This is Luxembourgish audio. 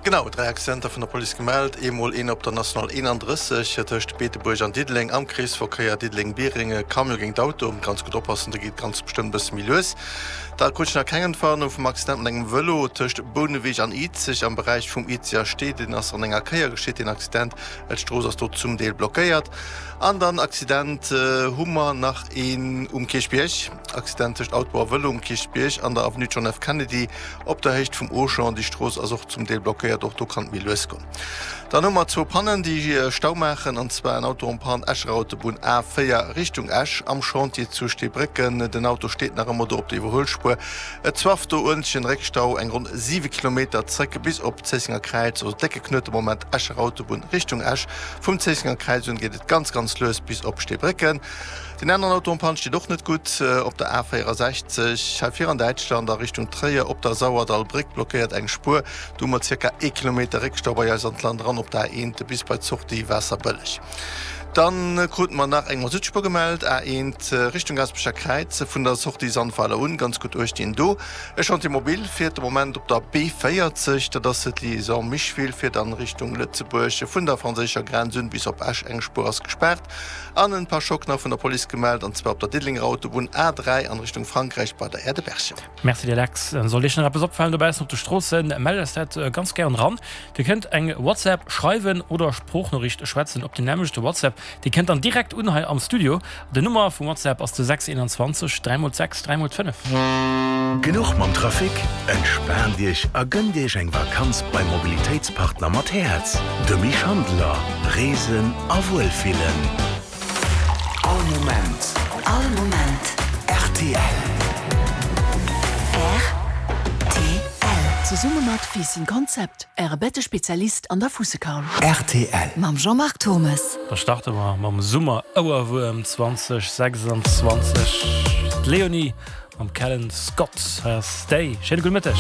Genau, 3 Accidenter vun der Police gemellt. Eemol een op der National 31 tëscht Beetebuerg an Diddeleng am Kreesverkéier Diddeleng-Biereng, e Camion géint Auto. Ganz gutt oppassen, do geet ganz bestëmmt e bësse méi lues. Da krut ech nach keng Entwarnung vum Accident mat engem Vëlo tëscht Bouneweg an Izeg am Beräich vum Izeger Stee. Deen ass an enger Kéier geschitt, deen Accident. D'Strooss ass do zum Deel blockéiert. An dann Accident hu mer nach een um Kierchbierg. Accident tëscht Auto a Vëlo um Kierchbierg an der Avenue John F. Kennedy op der Héicht vum Auchan. Déi Strooss ass och zum Deel blockéiert, och do kann et méi lues goen. Dann hu mer zwou Pannen, déi Stau maachen, an zwar en Auto en panne Escher Autobunn A4 Richtung Esch am Chantier zu Steebrécken. Den Auto steet nach ëmmer do op der Iwwerhuelspuer. Et zwafft do uerntlechen Réckstau, eng ronn 7 Kilometer zréck bis op d'Zéissenger Kräiz, also décke Knuet de Moment Escher Autobunn Richtung Esch. Vum Zéissenger Kräiz un geet et ganz ganz lues bis op Steebrécken. Deen aneren Auto en panne steet och net gutt op der A 64 hei vir an Däitschland a Richtung Tréier op der Sauerdallbréck blockéiert eng Spuer. Do hu mer zirka ee Kilometer Réckstau bei eis an d'Land eran op der A1 bis bei d'Sortie Waasserbëlleg. Dann kruten mer nach eng Masutspuer gemellt, A1 Richtung Gaasperecher Kräiz vun der Sortie Sandweiler un, ganz gutt uecht deen do. E Chantier mobile fiert de Moment op der B40, dat ass d'Liaison Micheville, fiert an Richtung Lëtzebuerg vun der franséischer Grenz un bis op Esch, eng Spuer ass gespaart. An en Pare-choc nach vun der Police gemellt, an zwar op der Diddelenger Autobunn A3 an Richtung Frankräich bei der Aire de Berchem. Merci dir Lex. Sollt Iech nach eppes opfalen dobaussen op de Stroossen, mellt eis dat ganz gären eran. Dir kënnt eng WhatsApp schreiwen oder Sproochnoriicht schwätzen op den nämmlechte WhatsApp. Déi kënnt dann direkt un hei am Studio. Den Nummer vum WhatsApp ass de 6 21 3 x 6 3 x 5. Genuch mam Trafic? Entspaant Iech a gënnt Iech eng Vakanz beim Mobilitéitspartner mat Häerz, de Mich Handler. Reesen a Wuelfillen. All Moment. All Moment. Rtl. Rtl. Zesumme mat Fiissen Concept, Äre Bettespezialist an der Fussekaul. Rtl. Mam Jean-Marc Thommes. Da starte mer mam Summer-Ouerwuerm 2026. D'Leonie mam Callan Scott. Hei ass Stay. Schéine gudde Mëtteg.